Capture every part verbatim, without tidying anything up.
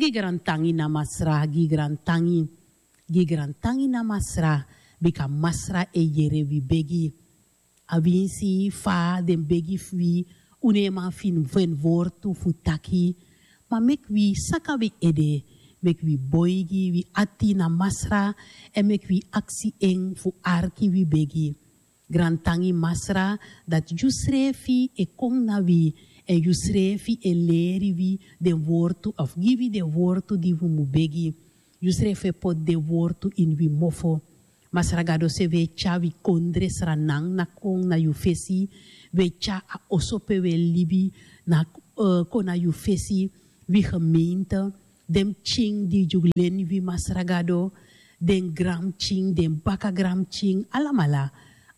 Gi grantangi na Masra, gi grantangi. Gi grantangi na Masra, bika Masra e yere wi begi. A winsi fa den begi fu wi, un no e man feni wortu fu taki. Ma meki wi saka wi ede, meki wi boigi wi ati na Masra, èn meki wi aksi en fu arki wi begi. Grantangi Masra, dati yu srefi e kon na wi, èn yu srefi e leri wi den wortu, of gi wi den wortu di wi mu begi. Yu srefi e poti den wortu ini wi mofo. Masra Gado, san wi e tyari wi kondre sranan na kon na yu fesi, wi e tyari a oso pe wi e libi na, eh, kon na yu fesi, wi gemeente, den pikin di yu leni wi, Masra Gado, den granpikin, den baka granpikin, alamala,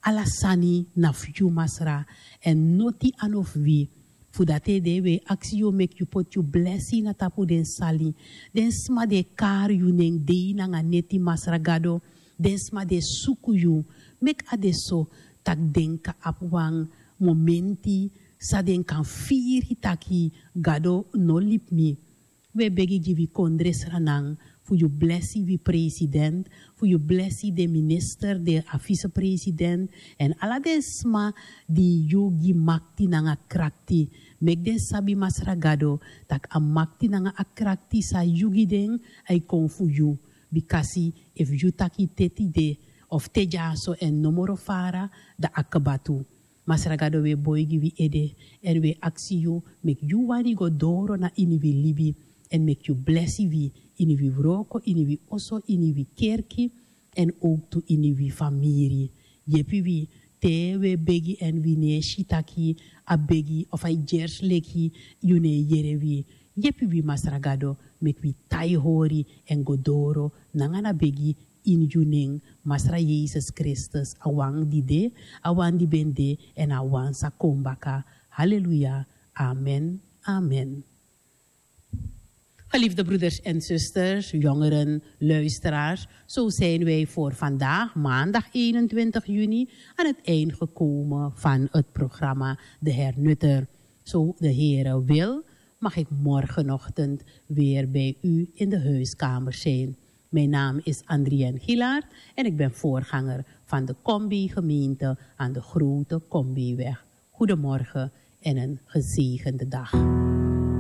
ala sani na fu yu, Masra, èn noti a no fu wi. Fu dati ede wi e aksi yu meki yu poti yu blesi na tapu den sali. Den sma di e kari yu nen dei nanga neti, Masra Gado, den sma di e suku yu, meki a de so tak' den kan abi wan momenti san den kan firi taki Gado no libi mi. Wi e begi gi wi kondre sranan fu yu blesi wi president, fu yu blesi den minister, den a vicepresident, èn ala den sma di yu gi makti nanga krakti. Meki den sabi, Masra Gado, tak' a makti nanga a krakti san yu gi den, a e kon fu yu. Bikasi efu yu taki te tide, of te dyaso èn no moro fara, dan a kaba tu. Masra Gado, wi e boigi wi ede, èn wi e aksi yu meki yu wani go doro na ini wi libi, èn meki yu blesi wi ini wi wroko, ini wi oso, ini wi kerki, èn owktu ini wi famiri. Yepi wi te wi e begi èn wi no e si taki a begi of a e gersi leki yu no e yere wi. Yepi wi, Masra Gado, meki wi tai hori èn go doro nanga na begi ini yu nen, Masra Yesus Kristus, a wan di de, a wan di ben de, èn a wan sa kon baka. Haleluya. Amen. Amen. Geliefde broeders en zusters, jongeren, luisteraars, zo zijn wij voor vandaag, maandag eenentwintig juni, aan het eind gekomen van het programma De Hernutter. Zo de Heere wil, mag ik morgenochtend weer bij u in de huiskamer zijn. Mijn naam is Andrienne Gilaard en ik ben voorganger van de Combi-gemeente aan de Grote Combiweg. Goedemorgen en een gezegende dag.